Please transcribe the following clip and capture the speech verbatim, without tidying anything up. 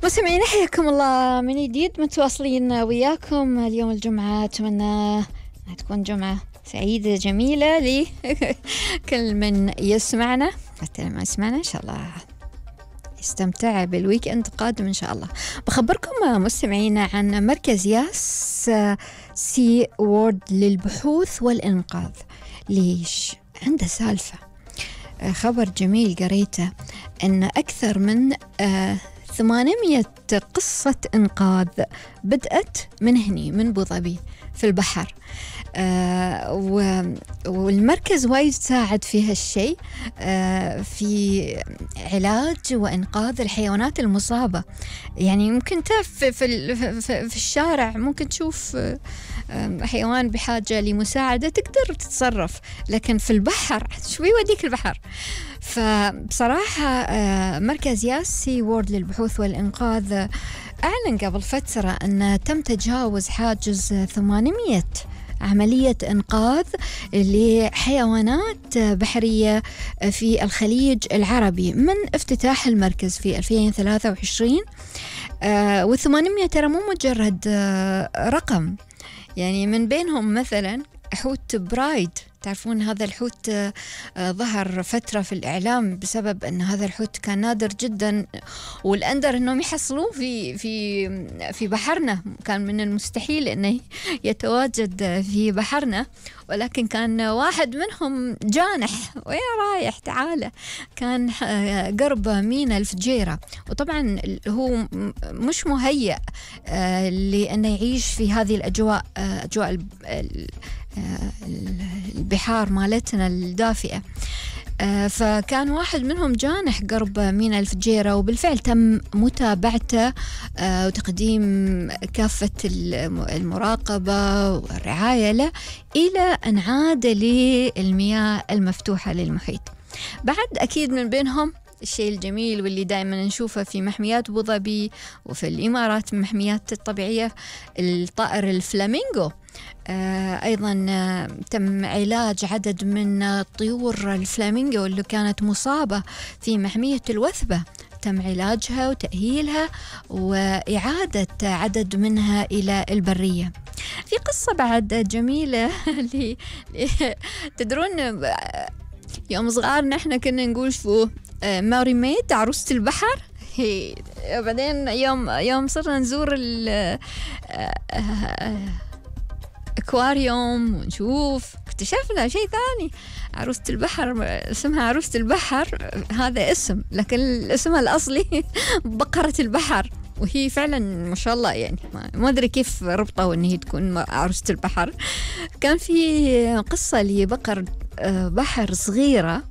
مستمعين حياكم الله من جديد، متواصلين وياكم اليوم الجمعة. أتمنى أن تكون جمعة سعيدة جميلة لكل من يسمعنا، حتى ما يسمعنا إن شاء الله يستمتع بالويك أند قادم إن شاء الله. بخبركم مستمعينا عن مركز ياس سي وورد للبحوث والإنقاذ. ليش؟ عنده سالفة، خبر جميل قريته أن أكثر من ثمانمائة قصة إنقاذ بدأت من هني من أبو ظبي في البحر. آه والمركز وايد ساعد في هالشيء، آه في علاج وإنقاذ الحيوانات المصابة. يعني ممكن في, في, في, في الشارع ممكن تشوف آه حيوان بحاجة لمساعدة تقدر تتصرف، لكن في البحر شو يوديك البحر؟ فبصراحة آه مركز ياس سي وورد للبحوث والإنقاذ أعلن قبل فترة أن تم تجاوز حاجز ثمانمائة عملية إنقاذ لحيوانات بحرية في الخليج العربي من افتتاح المركز في ألفين وثلاثة وعشرين. آه والثمانمائة ترى مو مجرد آه رقم، يعني من بينهم مثلا حوت برايد. تعرفون هذا الحوت آه ظهر فترة في الإعلام بسبب أن هذا الحوت كان نادر جدا، والأندر أنهم يحصلوه في في في بحرنا. كان من المستحيل أنه يتواجد في بحرنا، ولكن كان واحد منهم جانح ويا رايح تعالى، كان آه قرب ميناء الفجيرة. وطبعا هو مش مهيأ آه لأنه يعيش في هذه الأجواء، آه أجواء البحار مالتنا الدافئة. آه فكان واحد منهم جانح قرب ميناء الفجيرة، وبالفعل تم متابعته آه وتقديم كافة المراقبة والرعاية له إلى أن عاد للمياه المفتوحة للمحيط. بعد أكيد من بينهم الشيء الجميل واللي دائما نشوفه في محميات أبو ظبي وفي الإمارات، المحميات الطبيعية، الطائر الفلامينغو. آه أيضا آه تم علاج عدد من طيور الفلامينغو اللي كانت مصابة في محمية الوثبة، تم علاجها وتأهيلها وإعادة عدد منها إلى البرية. في قصة بعد جميلة اللي تدرون يوم صغار نحن كنا نقول شو ماري ميد عروسة البحر. هي بعدين يوم يوم صرنا نزور الأكواريوم ونشوف اكتشفنا شيء ثاني، عروسة البحر اسمها عروسة البحر، هذا اسم، لكن اسمها الأصلي بقرة البحر. وهي فعلا ما شاء الله، يعني ما أدري كيف ربطوا أن هي تكون عروسة البحر. كان في قصة لبقر بحر صغيرة